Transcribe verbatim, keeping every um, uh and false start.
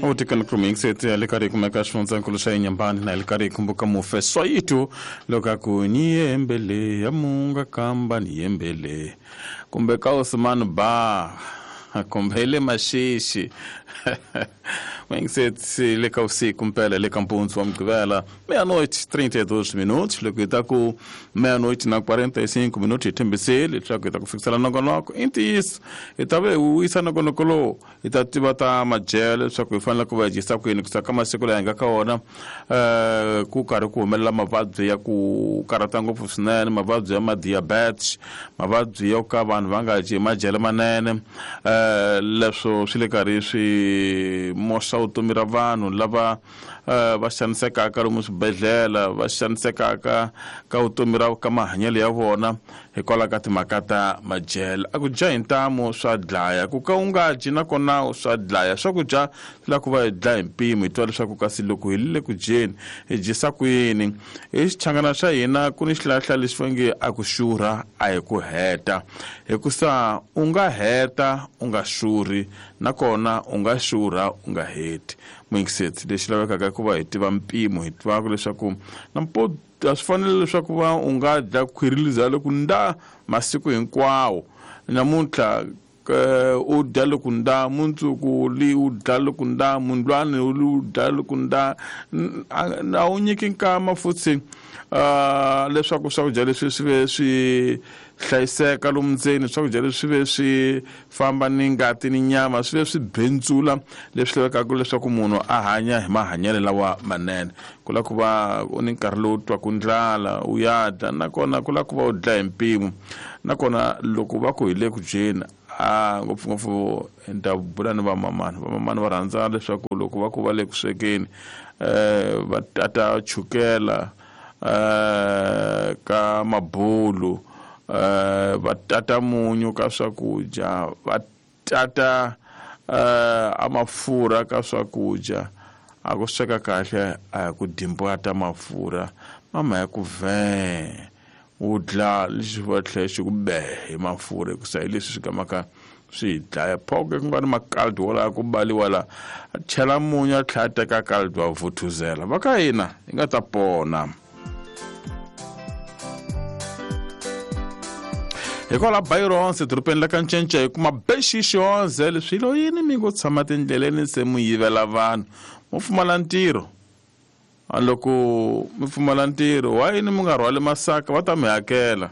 Utikana kruming le karhi kumeka xifundzankulu xa Inhambane na le karhi kumbuka mufe Soyitu loko ku ni yembele ya munga kamba ni yembele kumbe ka Osman ba kumbe le Maxixi Wengisetsi le ka usiku mpela le ka mpundzu wa Mugqivela meia-noite trinta e dois minutos loko hi ta ku meia-noite na quarenta e cinco minutos hi tshembisile leswaku hi ta ku fikisela nongonoko i ntiyiso hi ta ve hi wisa nongonoko lowu hi ta tiva ta madyelo leswaku hi fanele ku va hi dyisa kwini ku ka masiku laha hi nga ka wona um ku karhi ku humelela mavabyi ya ku karhata ngopfu swinene mavabyi ya ma-diabetes mavabyi yo ka vanhu va nga dyi madyelo manene um leswo swi le karhi swi moxa vutomi ra vanhu lava uh, va xanisekaka lomu swibedhlele va xanisekaka ka vutomi ra ka mahanyelo ya vona hikwalaho ka timhaka ta madyelo a ku dya hi ntamu swa dlaya ku ka u nga dyi nakona swa dlaya swakudya swi lava ku va hi dlaya hi mpimo hi twa leswaku kasi loko hi le ku dyeni hi dyisa ku yini hi xichangana xa hina ku ni xihlahla lexi va nge a ku xurha a hi ku heta hikusa u nga heta u nga xurhi nakona u nga xurha u nga heti muyingiseti lexi lavekaka ku va hi tiva mpimo hi tivaka leswaku nampo a swi fanele leswaku va u nga dya khwiri liza loko nda masiku hinkwawo namuntlha u dya loko nda mundzuku li u dya loko nda mundlwani li u dya loko nda a wu nyiki nkama futhi uh, leswaku swakudya leswi swi ve swi hlayiseka lomu ndzeni swakudya leswi swi ve swi famba ni ngati ni nyama swi ve swi bendzula leswi lavekaka leswaku munhu a hanya hi mahanyelo lawa manene ku lava ku va u ni nkarhi lowu twaku ndlala u ya dya nakona ku lava ku va u dlaya hi mpimo nakona loko va ku hi le ku dyeni a ngopfungopfu ni ta bula ni vamamani vamamani va rhandza leswaku loko va ku va le ku swekeni um va tata chukela um ka mabulu um va tata munyu ka swakudya va tata um a mafurha ka swakudya a ku sweka kahle a hi ku dimbwata mafurha mama ya ku vhe u dla lexi va tlhela xi ku be hi mafurha hikusa hi leswi swi gamaka swi hi dlaya phoke ku nga ni makaldi wala ku baliwa la a chela munyu a tlhela a teka kaldi wa vuthuzela va ka hina hi nga ta pona hikwalaho Byronse dorobeni la ka Ncence hi kuma bexixonze leswi lo yini mi ngo tshama tindleleni se mu yivela vanhu mo pfumala ntirho loko mi pfumala ntirho wa yini mi nga rhwali masaka va ta mi hakela